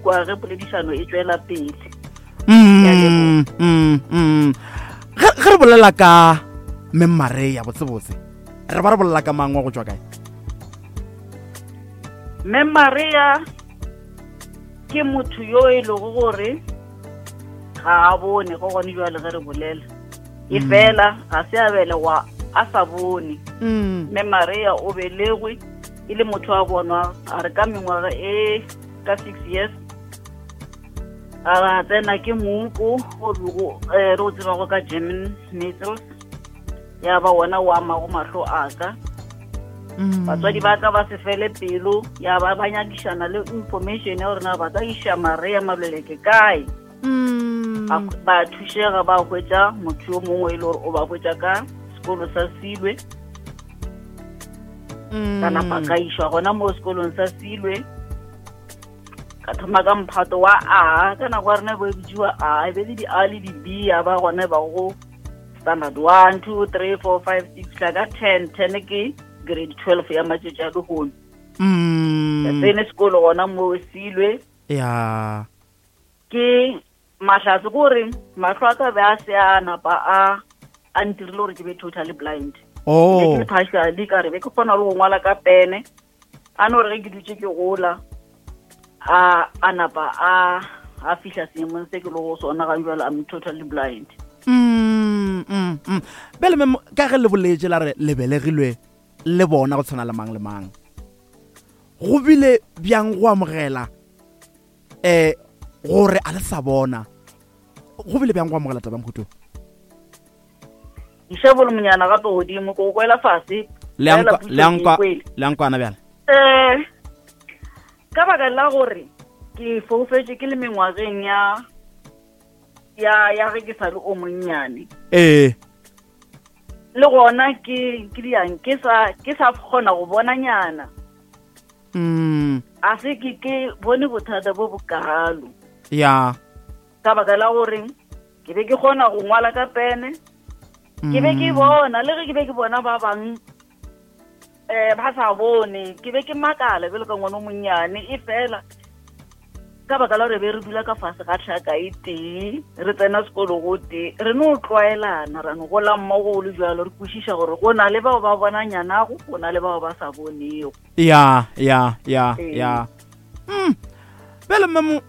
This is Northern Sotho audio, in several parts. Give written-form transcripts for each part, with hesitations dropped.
kwa ge poledišano e tšwela pele. Ge re bolela ka Mme Maria botsebotse, re ba re bolela ka mang wa go tšwa kae? Mme Maria ke motho yo e lego gore ga a bone go gone jwale ge re bolela e fela ga se a belegwa a sa bone. Mme Maria o belegwe e le motho a bonwa a re ka mengwaga e ka 6 years a tsena ke moko o bego re o tsebago ka German measles, ya ba wona o amago mahlo a ka. Batswadi ba ka ba se fele pelo, ya ba ba nyakišana le information ya gore na ba ka iša Maria Maluleke kae. Ba thušega, ba hwetša motho yo mongwe e le gore o ba hwetša ka sekolo sa Silwe. Ka napa ka išwa gona mo sekolong sa Silwe, ka thoma ka mphato wa A. Ka nako ya rena e bo e bitsiwa A, e be le di-A le di-B, ya ba gona ba go standard 1, 2, 3, 4, 5, 6, tla ka 10. 10 ke grade 12 ya matšatši a lehono. Ka tsene sekolo gona mo Silwe. Ke mahlatse gore mahlo a ka be a se a napa a ntirile gore ke be totally blind. Ke le partially, ka re be ke kgona le go ngwala ka pene. A no re ge ke dutše ke gola, a napa a fihla seemong se ke le go sona ga jwale, I'm totally blind. Bjale mem, ka ge le boletše la re le belegilwe le bona go tshwana le mang le mang, go bile bjang go amogela gore a le sa bona? Go bile bjang go amogela taba mohuto? Iša bolomonyana gape godimo, ko kwela fase. Le a nkwana bjale? Ka baka la gore ke foufetše ke le mengwageng ya ge ke sa le o monnyane. Le gona ke diang, ke sa kgona go bona nyana. A se ke bone bothata bo bokalo. Ka baka la gore ke be ke kgona go ngwala ka pene. Ke be ke bona, le ge ke be ke bona ba bang ba sa bone, ke be ke makala bjalo ka ngwana o monnyane. E fela ka baka la gore be re dula ka fase ga tlhaka e tee, re tsena sekolo go tee, re no tlwaelana, ra no gola mmogo o le jwalo, re kwešiša gore go na le bao ba bona nyanago, go na le bao ba sa bonego. Ya, ya, ya, ya. Bjale memo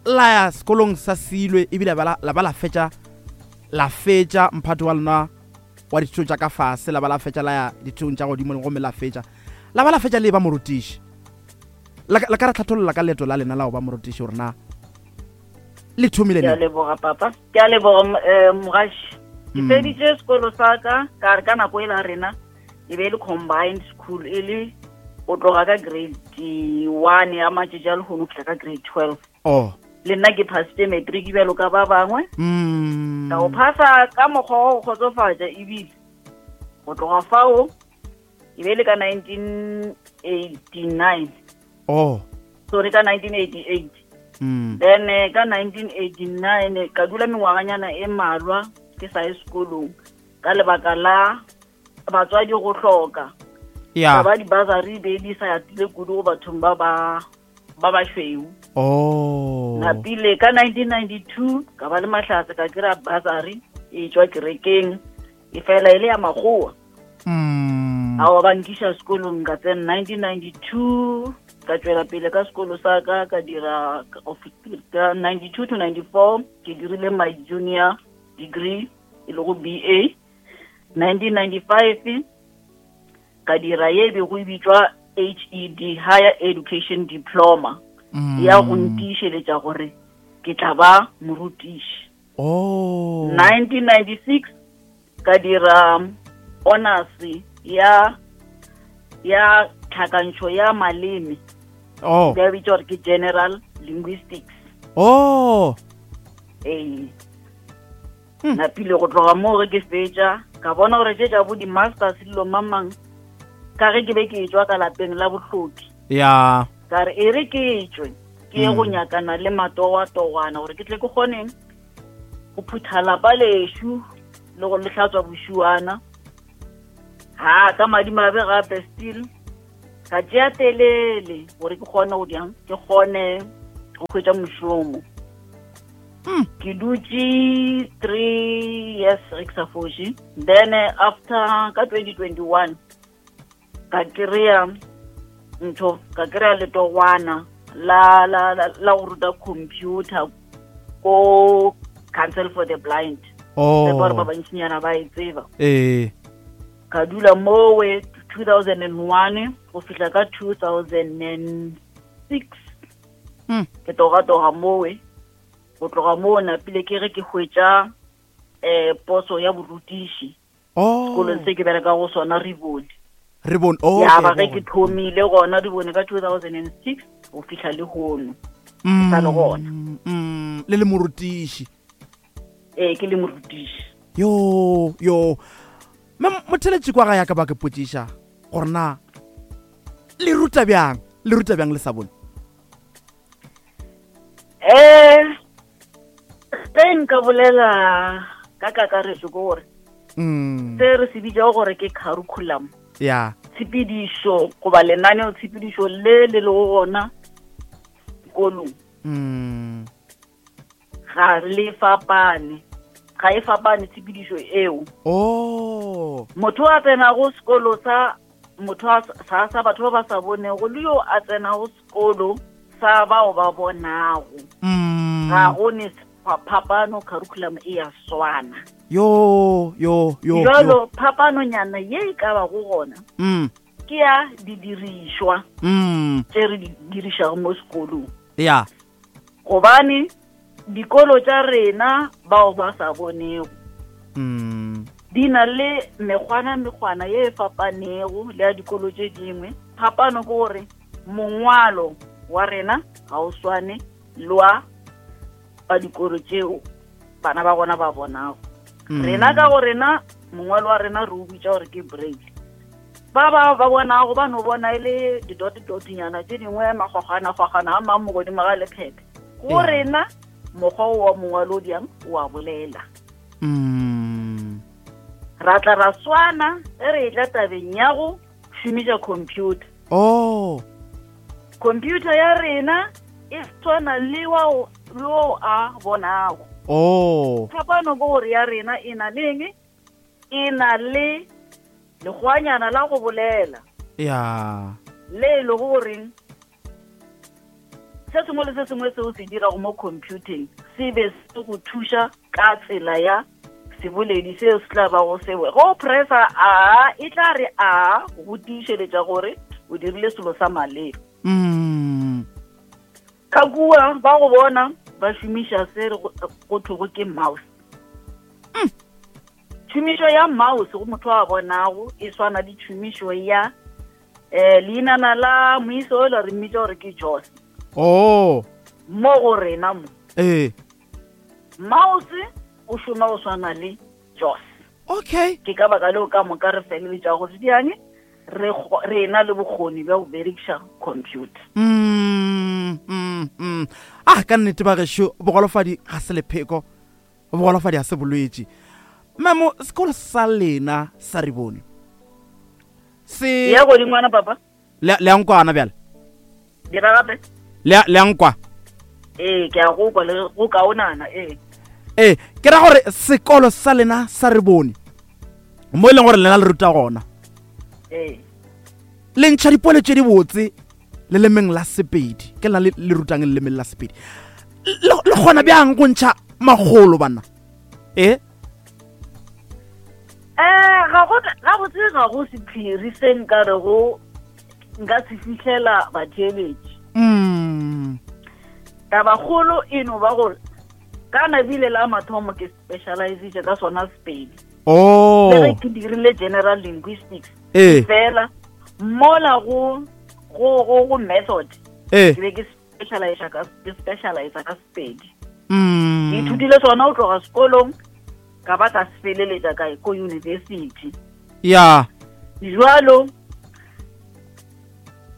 la ya sekolong sa Silwe, ebile la ba la fetša, la fetša mphato wa lona wa dithuto tša ka fase, la ba la fetša la ya dithutong tša godimo, gomme la fetša, la ba la fetša le ba morutiši. La ka ra tlhatholola ka leeto la lena la go ba morutiši gore na le thomile Ke a neng? leboga papa, ke a leboga mogaši. Ke feditše sekolo sa ka, ka re ka nako e la rena e be e le combined school, e le go tloga ka grade 1 ya matšatši a lehono go fihla ka grade 12. Le nna ke phasitše matric bjalo ka ba bangwe. Ka go phasa ka mokgwa wa go kgotsofatša, ebile go tloga fao e be e le ka 1989. Sorry, ka 1988. Then ka 1989 ka dula mengwaganyana e mmalwa ke sa ye sekolong ka lebaka la batswadi go hloka. Ba di-bursary be di sa atile kudu go bathong ba ba bašweu. Napile ka 1992 ka ba le mahlatse, ka kry-a bursary e tšwa kerekeng, e fela e le ya makgowa. Ao ba nkiša sekolong, ka tsena 1992, ka tšwela pele ka sekolo sa ka, ka dira ka 92 to 94 ke dirile my junior degree e lego BA. 1995 ka dira ye bego e bitšwa HED, Higher Education Diploma, ya go ntiišeletša gore ke tla ba morutiši. 1996 ka dira honors ya tlhakantšho ya maleme. Ba bitša gore ke General Linguistics. Ee. Napile go tloga moo ge ke fetša, ka bona gore tše tša bo di-masters dilo mamang, ka ge ke be ke tšwa ka lapeng la bohloki. Ka re e re ke tšwe ke ye go nyakana le matowatogwana gore ke tle ke kgoneng go phutha lapa lešo le go le hlatswa bošuana. Ha ka madimabe gape still ka tšea telele gore ke kgone go diang, ke kgone Go hwetša mošomo. Ke dutše 3 years ge ke sa foše. Then after ka 2021 ka kry-a ntho, ka kry-a letogwana la la la, la go ruta computer ko Council for the Blind. Oh. Gore ba bantšinyana ba e tseba. Ee. Ka dula mowe 2001 go fihla ka 2006. Ke togatoga mowe. Go tloga moo napile ke ge ke hwetša poso ya borutiši. Oh. Sekolong se ke bereka go sona, Ribone. Ribone, oh, Ya ba okay, ge ke thomile gona Ribone ka 2006 go fihla le hono. Ke sa le gona. Le le morutiši. Ee, ke le morutiši. Yo, yo. Mme motheletši kwa ga ya ka ba ke potšiša gore na le ruta bjang? Le ruta bjang le sa bone? Ge nka bolela ka kakaretso ke gore se re se bitšago gore ke curriculum. Ya. Tshepedišo goba lenaneo tshepedišo le le lego gona sekolong. Ga le fapane. Ga e fapane tshepedišo eo. Oh. Motho a tsenago sekolo sa motho a sa, sa batho ba ba sa bonego le yo a tsenago sekolo sa bao ba bonago. Ga go ne phapano, curriculum e ya swana. Yo, yo, yo, yo. Jalo phapanonyana ye e ka bago gona ke ya didirišwa tše re di dirišago mo sekolong. Ya. Gobane dikolo tša rena bao ba sa bonego di na le mekgwana mekgwana ye e fapanego le ya dikolo tše dingwe. Phapano ke gore mongwalo wa rena ga o swane le wa ba dikolo tšeo bana ba gona ba bonago. Rena ka go rena mongwalo wa rena re o bitša gore ke braille. Ba ba ba bonago ba no bona e le didotidotnyana tše dingwe, magwagwana-gwagwana a mang mo godimo ga lephephe. Go rena mokgwa o wa mongwalo o diang o a bolela. Ra tla ra swana ge re etla tabeng ya go šomiša computer. Oh. Computer ya rena e swana le wa o a bonago. Oh. Phapano ke gore ya rena e na le eng? E na le lekgwanyana la go bolela. Ya. Le e lego goreng se sengwe le se sengwe seo se dirago mo computing se be se go thuša ka tsela ya seboledi seo se tla bago sewe. Go pressa a, e tla re a go tiišeletša gore o dirile selo sa maleba. Ka kua ba go bona ba šomiša se re go thwego ke mouse. Tšhomišo ya mouse go motho a bonago e swana le tšhomišo ya leinana la moiso o la re mmitša gore ke Joss. Oh. Mo go rena mo. Mouse o šoma go swana le Joss. Okay. Ke ka baka leo ka moka re feleletša go diane re ena le bokgoni bja go berekiša computer. Ah, ka nnete ba gešo, bogolofadi ga se lepheko, bogolofadi ga se bolwetši. Memo, sekolo sa lena sa Ribone se Ya godingwana papa. Le a nkwana bjale? Dira gape. Le a nkwa? Ee, ke a go kwa le go kaonana, ee. Ee, ke ra gore sekolo sa lena sa Ribone mo e leng gore lena le ruta gona. Ee. Le ntšha dipole tše di botse lelemeng la Sepedi. Ke lena le rutang lelemeng la Sepedi. Le kgona bjang go ntšha magolo bana? Ee. Ga go, ga botse ga go sephiri se nka re go nka se fihlela batheeletši. Tabakgolo e no ba gore ka nabile la mathomo ke specializitše ka sona Sepedi. Oh. Le ge ke dirile general linguistics. Fela mola go go go go method. Ke be ke specialize ka, ke specialize ka Sepedi. Ke ithutile sona go tloga sekolong ka ba ka se feleletša kae ko university. Ya. Jwalo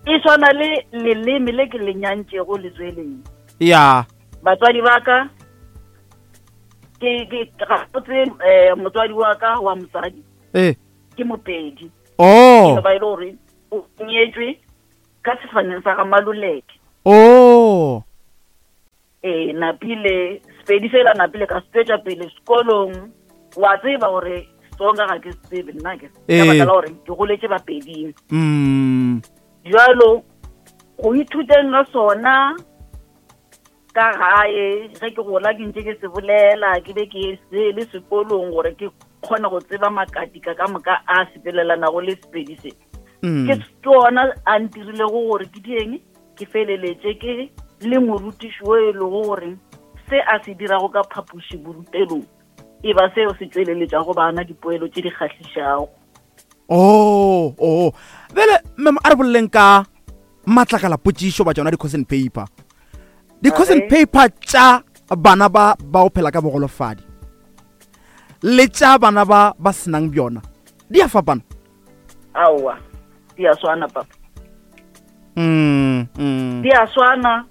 e swana le leleme le ke le nyantšego letsweleng. Ya. Batswadi ba ka ke ke ga botse motswadi wa ka wa mosadi. Ke Mopedi. Oh. Ke ba ile gore o nyetšwe ka sefaneng sa ga Maluleke. Oh. Ee, napile Sepedi sela napile ka se tšwetša pele sekolong. Wa tseba gore Setsonga ga ke se tsebe nna ke. Ka baka la gore ke goletše Bapeding. Bjalo go ithuteng ga sona ka gae ge ke gola ke ntše ke se bolela ke be ke se le sekolong gore ke kgone go tseba makatika ka moka a sepelelanago le Sepedi se. Ke tsona a ntirilego gore ke dieng ke feleletše ke le morutiši wo e lego gore se a se dirago ka phapoši borutelong e ba seo se tšweleletšago bana dipoelo tše di kgahlišago. Oh, oh. Bjale, ma'am, a re boleleng ka matlakala potšišo ba tšona di-question paper. Di-question paper tša bana ba ba go phela ka bogolofadi le tša bana ba ba senang bjona di a fapana. Aowa, di a swana papa. Di a swana.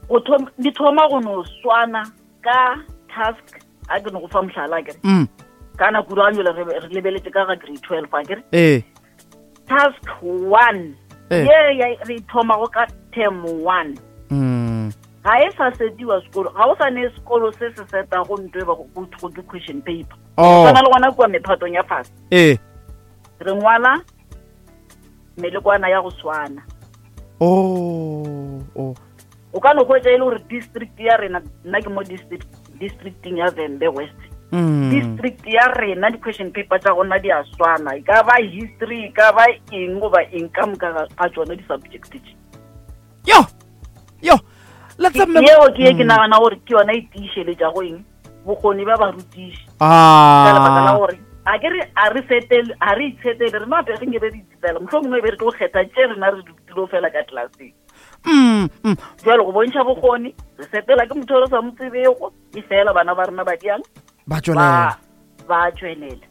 Go thoma, di thoma go no swana ka task a ke no go fa mohlala kere. Ka nako ro anjole re re lebeletse ka ga grade 12 a kere. Task 1. Ye ya re thoma go ka term 1. Ga e sa setiwa sekolo, ga o sa ne sekolo se se seta go ntwe ba go go ke question paper. Oh. Tshwana le gona kua mephatong ya fase. Re ngwala melekwana ya go swana. Oh, oh. O ka no hwetša e le gore district ya rena, nna ke mo districting ya Vhembe West. District ya rena di-question paper tša gona di a swana, e ka ba history, e ka ba eng goba eng ka moka ga tšona di-subject tše. Yo, yo, let's have Yeo ke ye ke nagana gore ke yona e tiišeletšago eng bokgoni ba barutiši. Ka lebaka la gore a ke re a re setele, a re itshetele, rena gape re nke be re itshetela, mohlomongwe e be re tlo kgetha tše rena re dilo fela ka klaseng. Jwale go bontšha bokgoni, re setela ke motho o re sa mo tsebego, e fela bana ba rena ba diang? Ba tšwelela. Ba tšwelela.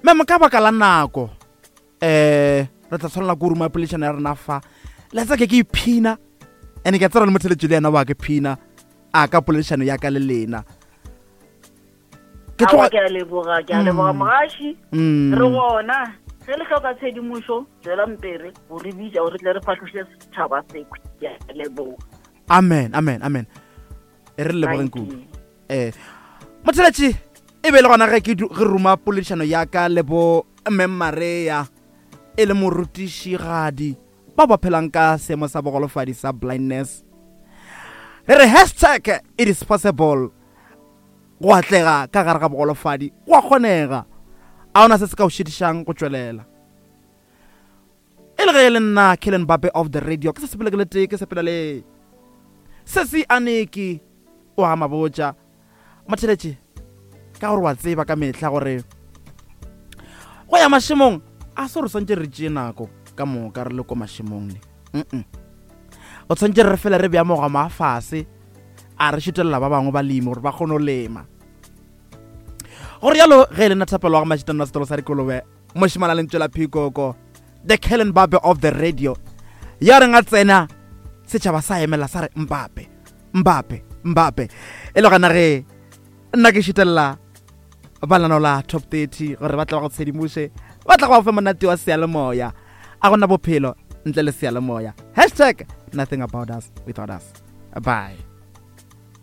Ma'am, ka baka la nako, re tla tshwanela ko ruma poledišano ya rena fa. Letsa ke ke iphina, and ke a tseba le motheletši le yena wa ke phina a ka poledišano ya ka le lena. Ke tloga ke a leboga, ke a leboga mogaši. Re gona ge le hloka tshedimošo, tswelang pele go re bitša gore re tle re fahloše setšhaba sekwe. Ke a leboga. Amen, amen, amen. E re lebogeng kudu. Motheletši e be le gona ge ke ge ruma poledišano ya ka le bo Mme Maria e le morutišigadi ba ba phelang ka seemo sa bogolofadi sa blindness. Re re hashtag it is possible go atlega ka gare ga bogolofadi, go a kgonega. A ona se se ka o šitišang go tšwelela. E le ge e le nna Kellen Bape of the radio, ke sa sepele ke le tee, ke sepela le Sesi Aniki o a mabotša. Motheletše, ka gore wa tseba ka mehla gore go ya mašemong a se re swantše re tšee nako ka moka re le ko mašemong ne. O tshwantše re fele re bea mogoma a fase a re šutelela ba bangwe balemi gore ba kgone go lema. Gore jalo ge e le nna Thapelo wa ga Mašitana wa setolo sa dikolobe, mošemane a lentswe la phikoko, the Kellen Bape of the radio, ya reng a tsena setšhaba sa emela sa re Mbappe, Mbappe, Mbappe. E le gona ge nna ke šutelela ba lenaneo la Top 30 gore ba tle ba go tshedimoše, ba tla go ba fe monate wa seyalemoya. A gona bophelo ntle le seyalemoya. Hashtag nothing about us without us. Bye.